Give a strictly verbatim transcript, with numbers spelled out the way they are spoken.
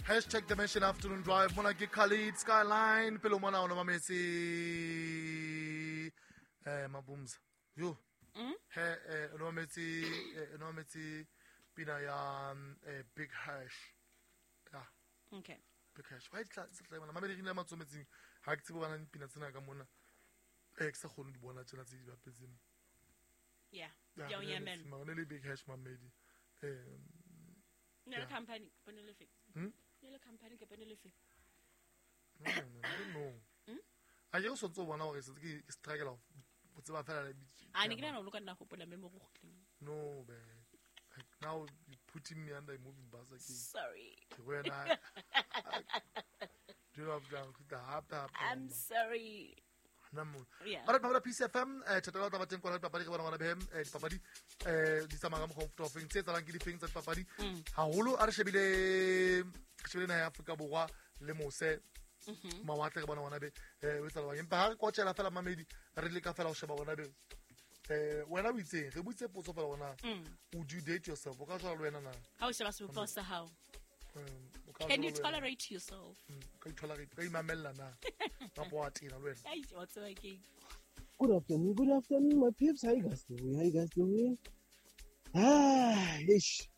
Hashtag Dimension Afternoon Drive. Mona ke Khalid Skyline. Pele o mona o no mametse eh Mabumza. Yo. Mm? He eh o no mametse eh, o no mametse pina ya mm, eh, Big Hash. Yeah. Okay. Big Hash. Why tla tla mona mamedi re matsometseng ha ke tsebe bana dipina tsena ka mona. Eh ke sa kgone di bona tsena tse di bapetseng. Yeah. Ya, Ya o re ne le nyamela. mara ne le Big Hash mamedi. Eh Ne le Yeah. company, bone le fe. Hmm? Ne le company ke bone le fe. No, no, no, I don't know. Hmm? A ke o sontse o bona hore se ke ke struggle ho tseba fela le bitso. A ne ke nahana o lo ka nna hopola mme mo go kgutleng. No, man. Like now you putting me under a moving bus again. Sorry. Ke wena. Do you know I've done hape hape. I'm sorry. Nna mo. Yeah. Alright, Mamela Peace F M, eh thatela taba teng kwana dipapadi re bona ngwana behem eh dipapadi eh di tsamaya ka mokgwa o mofuta o feng, tse etsahalang ke difeng tsa dipapadi Mm. haholo? A re shebile re shebile naha ya Afrika Borwa le mose Mm-hmm. mawatle, re bona ngwana be eh o etsahala jwang, empa ha re kwatjela fela mamedi, re leka fela ho sheba ngwana be eh wena o itseng, re buitse potso fela gona: Mm. would you date yourself? O ka jwala le wena na? Ha o sheba sebopeho sa hao. Um, o ka Can you jwala le wena? tolerate yourself? Mm, o ka itolerate, o ka imamella na kapa wa tena le wena? Ai, wa tseba keng? Good afternoon, good afternoon, my peeps. How you guys doing? How you guys doing? Ah, ish.